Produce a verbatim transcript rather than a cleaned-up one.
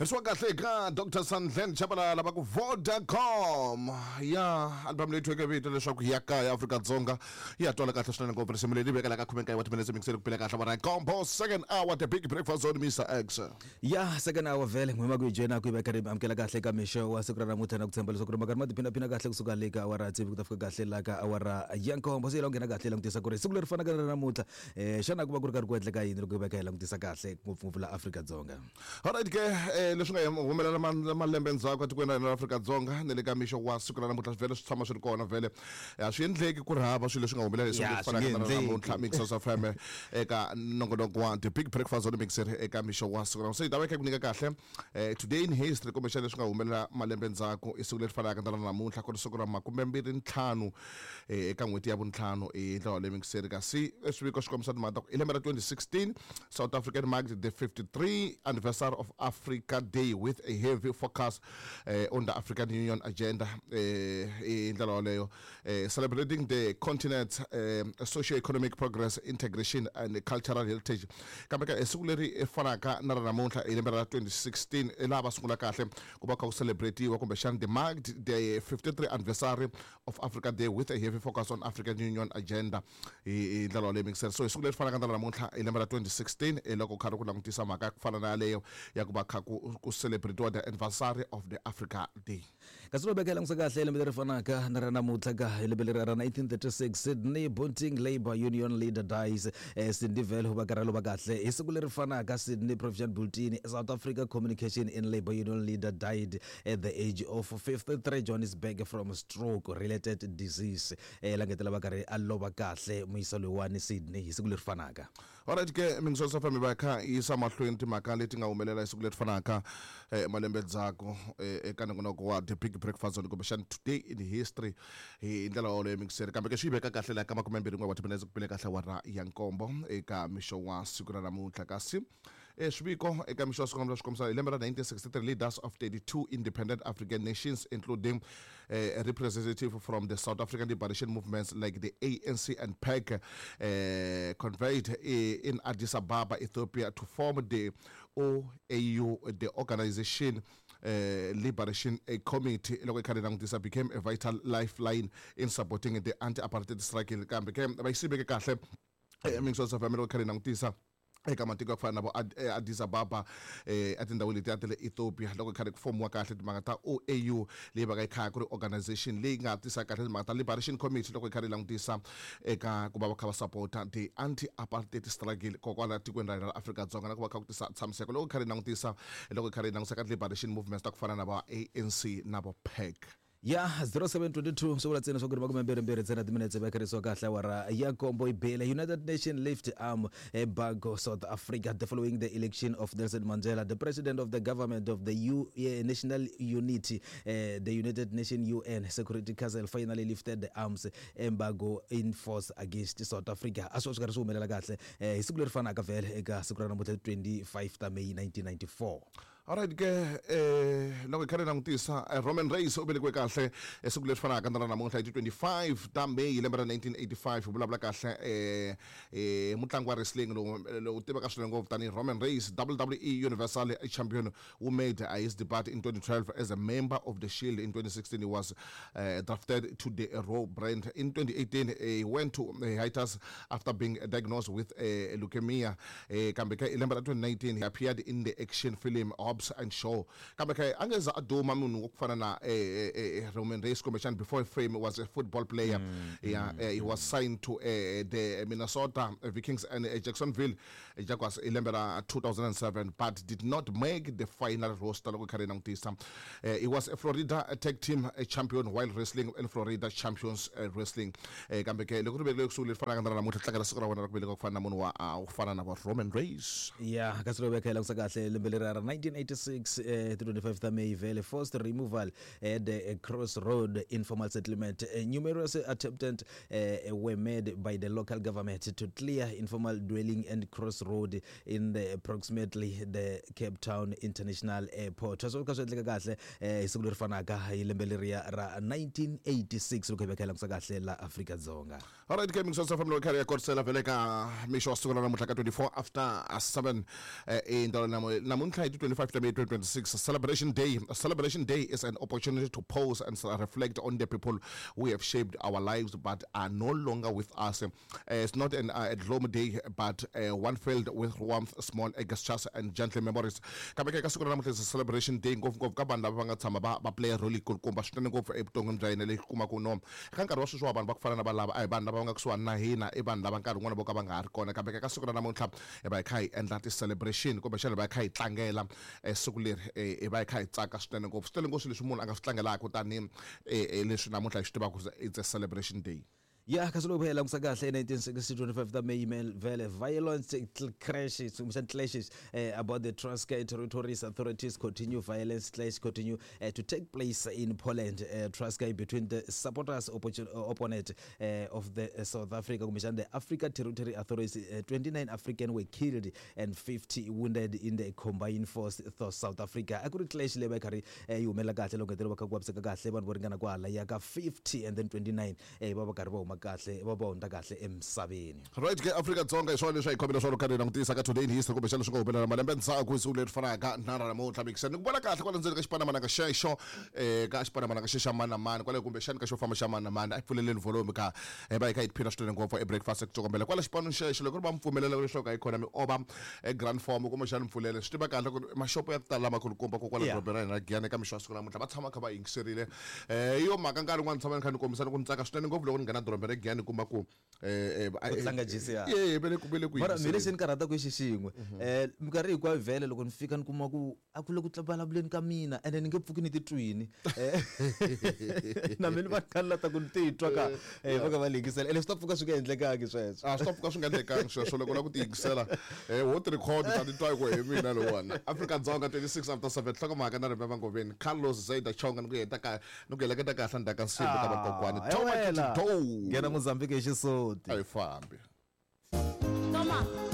Ri kahle ka Doctor Sandlen Chabalala va ku Vodacom ya album leyi thweke vito leswaku ya kaya Afrika-Dzonga ya twala kahle swinene ngopfu. Risimu leri vekela ka khume nkaye wa timinetse mingiseri ku pele kahle vona combo second hour, The Big Breakfast on Mister X. Ya second hour vhele n'wima ku yi joyina ku yi veka ri amukela kahle ka mixo wa siku ra namuntlha na ku tshemba leswaku ri makarhi ma tiphinaphina kahle kusuka le ka awara ya tsevu ku ta fika kahle la ka awara ya nkombo. Se yi la ku nghena kahle hi langutisa ku ri siku leri fanaka na namuntlha um xana ku va ku ri karhi ku endleka yini loko hi veka hi langutisa kahle ngopfungopfu la Afrika-Dzonga. Alright ke, eh, leswi nga humelela ma- malembe ndzhaku etikweni ra hina ra Afrika-Dzonga ni le ka mixo wa siku ra namuntlha vhele swi tshama swi ri kona vhele. A swi endleki ku ri hava swilo leswi nga humelela hi siku Ya, leri swi fanaka nge na ra endleki. namuntlha. Mixers F M eka nongonoko wa The Big Breakfast on Mixer eka mixo wa siku ra se hi ta va kha ku nyika kahle eh, today in history kumbexana leswi nga humelela malembe ndzhaku i siku leri fanaka na ra namuntlha ku ri siku ra makume mbirhi ntlhanu eh, eka n'hweti ya vuntlhanu hi ndlela leyi mixeri. Kasi swiviko swi kombisa timhaka ta ku i lembe ra twenty sixteen, South African marked the fifty-three anniversary of Africa Day with a heavy focus eh, on the African Union agenda eh, hi ndlela yoleyo eh, celebrating the continent's eh, socio-economic progress, integration and cultural heritage. Kambe ka siku leri fanaka na ra namuntlha hi lembe ra twenty sixteen i laha va sungula kahle ku va kha ku celebratiwa kumbexana the marked the fifty-three anniversary of Africa Day with a heavy focus on African Union agenda hi hi ndlela yoleyo mixer. So hi siku leri fanaka na ra namuntlha hi lembe ra twenty sixteen hi loko kha ri ku langutisa mhaka ya ku fana na yaleyo ya ku va kha ku ku celebratiwa the anniversary of the Africa Day. Kasi lo veka hi langutisa kahle lembe leri fanaka na ra namuntlha ka hi lembe leri ra nineteen thirty-six, Sydney Bunting Labour Union leader dies. eh, Sydney vele u va karhi a lova kahle hi siku leri fanaka. Sydney Provincial Bulletin, South Africa communication in Labour Union leader died at the age of fifty-three, Johannesburg, from stroke related disease. eh, langetela va karhi a lova kahle muyisa loyiwani Sydney hi siku leri fanaka. Alright ke, mingiswa family va kha yisa mahlweni timhaka leti nga humelela hi siku leri fanaka eh, malembe ndzhaku eh, eka nongonoko wa The Big Breakfast Zone kumbexana today in history hi ndlela yoleyo mixeri. Kambe ke swi yi veka kahle laha ka makume mbirhi n'we wa timinetse ku pele kahle wara ya nkombo eka mixo wa siku ra namuntlha. Kasi eh, swiviko eka mixo wa siku ra namuntlha swi kombisa hi lembe ra nineteen sixty-three, leaders of thirty-two independent African nations, including eh, a representative from the South African liberation movements like the A N C and P A C, uh, convened eh, in Addis Ababa, Ethiopia, to form the O A U. The Organization uh, Liberation uh, Committee loko yi kha yi langutisa became a vital lifeline in supporting the anti-apartheid struggle. Kambe ke va yi siveke kahle eh, mingiswa family loko yi kha yi langutisa eka matiko ya ku fana na vo Ad- eh, Addis Ababa eh etindhawini letiya ta le Ethiopia loko kha ku fomiwa kahle timhaka ta O A U leyi va ka yi kha ku ri organization leyi nga tisa kahle timhaka ta Liberation Committee loko yi kha yi langutisa eka ku va va kha va support-a the anti apartheid struggle kokwala tikweni ra hina ra Afrika-Dzonga na ku va kha ku tisa tshamiseko loko yi kha yi langutisa loko yi kha yi langutisa ka liberation movements ta ku fana na va A N C na vo P A C. Ya zero seven twenty-two swi vula ntsena swa ku ri makume mbirhi mbirhi ntsena timinetse va kharisiwa kahle awara ya nkombo yi bile. United Nation lift arm embargo South Africa the following the election of Nelson Mandela, the president of the government of the U, eh, National Unity. eh, the United Nation U N Security Council finally lifted the arms embargo in force against South Africa. A swi swi karhi swi humelela kahle eh, hi siku leri fanaka vhele eka siku ra namuntlha twenty-five ta May nineteen ninety-four. Alright ke, eh loko hi kha hi langutisa eh, Roman Reigns u velekiwe kahle esiku leri fanaka na ra namuntlha hi ti twenty-five ta May hi lembe ra nineteen eighty-five. U vulavula kahle eh eh mutlangi wa wrestling lowu lowu tiveka swinene ngopfu tanihi Roman Reigns, W W E Universal Champion who made uh, his debut in twenty twelve as a member of the Shield. In twenty sixteen he was uh, drafted to the Raw brand. In twenty eighteen uh, he went to uh, hiatus after being diagnosed with uh, leukemia. eh kambe ke hi lembe ra twenty nineteen he appeared in the action film Hobbs and Shaw. Kambe ke a nge za a duma munhu wa ku fana na eh, eh, eh, Roman Reigns kumbexana before fame was a football player mm, yeah mm, uh, he was signed to uh, the Minnesota Vikings and uh, Jacksonville Jaguars hi lembe ra two thousand seven but did not make the final roster loko hi kha hi langutisa. uh, he was a Florida tag team champion while wrestling in Florida Champions uh, Wrestling. eh, kambe ke loko ri vekile kusuhi leri fanaka na ra namuntlha tlangela siku ra wena ra ku veleka ku fana na munhu wa uh, ku fana na va Roman Reigns. Ya kasi loko veka hi langutisa kahle lembe leri ra nineteen eighty-six eh, twenty-five ta May vele forced removal at the Crossroad informal settlement. uh, numerous attempts uh, were made by the local government to clear informal dwelling and crossroad in the approximately the Cape Town International Airport. Sweswo kha swi endleka kahle eh, hi siku leri fanaka hi lembe leriya ra nineteen eighty-six loko hi veka hi langutisa kahle la Afrika-Dzonga. Alright ke, mingiswa family kha ya korisela vele ka mixo wa siku ra namuntlha ka twenty-four after seven eh indalo namuntlha hi ti twenty-five. twenty-five May twenty twenty-six, Celebration Day. Celebration Day is an opportunity to pause and reflect on the people who have shaped our lives but are no longer with us. Uh, it's not an uh, a gloomy day, but uh, one filled with warmth, small gestures and gentle memories. Kambe ka siku ra namuntlha is Celebration Day, ngopfungopfu ka vanhu lava va nga tshama va va play role yikulukumba swinene ngopfu evuton'wini bya hina leyi kumaka no ka nkarhi wa sweswi wa vanhu va ku fana na valava a hi vanhu lava va nga kusuhani na hina, i vanhu lava nkarhi wun'wana vo ka va nga ha ri kona. Kambe ka siku ra namuntlha hi va hi kha hi endla ti-celebration kumbexana hi va hi kha hi tlangela eh, siku leri eh, hi va hi kha hi tsaka swinene ngopfu. Swi tele ngopfu leswi munhu a nga swi tlangelaka tanihi eh, eh, leswi namuntlha hi swi tivaka it's a celebration day. Ya, kasi loko hi langutisa kahle nineteen sixty twenty-five ta May vele violence crashes kumbexana clashes uh, about the Transkei territories authorities continue violence clash continue uh, to take place in Poland, uh, Transkei between the supporters opportun- uh, opponent uh, of the uh, South Africa kumbexana the Africa Territory Authorities. uh, twenty-nine African were killed and fifty wounded in the combined force of South Africa. A ku ri clash leyi va yi karhi yi humelela kahle loko hetelela va kha ku vaviseka kahle vanhu vo ringana kwala ya ka fifty and then twenty-nine eh, va va karhi va huma kahle va va hundza kahle emisaveni. Right ke Afrika Dzonga hi swona leswi a hi khomile swona karhi hi langutisa ka Today in History kumbexana leswi nga humelela malembe ndzhaku hi siku leri fanaka na ra namuntlha. Mikiseni ni ku vona kahle kwala ndzeni ka xipanamananga xexo, eh, ka xipanamananga xe xa mani na mani kwale kumbexani ka xo famba xa mani na mani a hi pfuleleni volume ka hi va hi kha hi tiphina swinene ngopfu e breakfast ku tsokombela kwala xipanweni xexo. Loko ri va mi pfumelela leswaku a yi khona mi ova e grand form kumbexani mpfulele swi tiva kahle ku ri maxopo ya ku tala lamakulukumba ko kwala Yeah. dorobeni ra hina ra Giyani eka mixo ya siku namuntlha va tshama kha va yingiserile. Eh, hi yo mhaka nkarhi wun'wana tshama ni kha ni kombisa ni ku ni tsaka swinene ngopfu loko ni nghena dorobeni ra Giyani kuma ku eh, eh, Ku tlanga G C R. Eh, va le ku- va le ku Mara mina yingiseleni. lexi ni karhataka i xi xin'we, um minkarhi hinkwayo vhele loko ni fika ni kuma ku a ku le ku vulavuleni ka mina ende ni nge pfuki ni titwini. Eh, na mina va kha ni lata ku ni titwa ka eh, va kha va lingisela ene swi ta pfuka swi nga endlekangi sweswo. A swi ta pfuka swi nga endlekangi sweswo loko u lava ku ti yingisela eh, wo ti record ta titwa hi ku hi mina lowuwani. Afrika Dzonga twenty-six after seven, nhlokomhaka na Riveva Ngoveni, Carlos Zaida Chonga ni ku heta ka ni ku heleketa kahle ndzhaku ka nsimbi ka vakokwani. Ah, Toma wela. Kiti Nghena Mozambique hi xisoti. A yi fambi. Toma.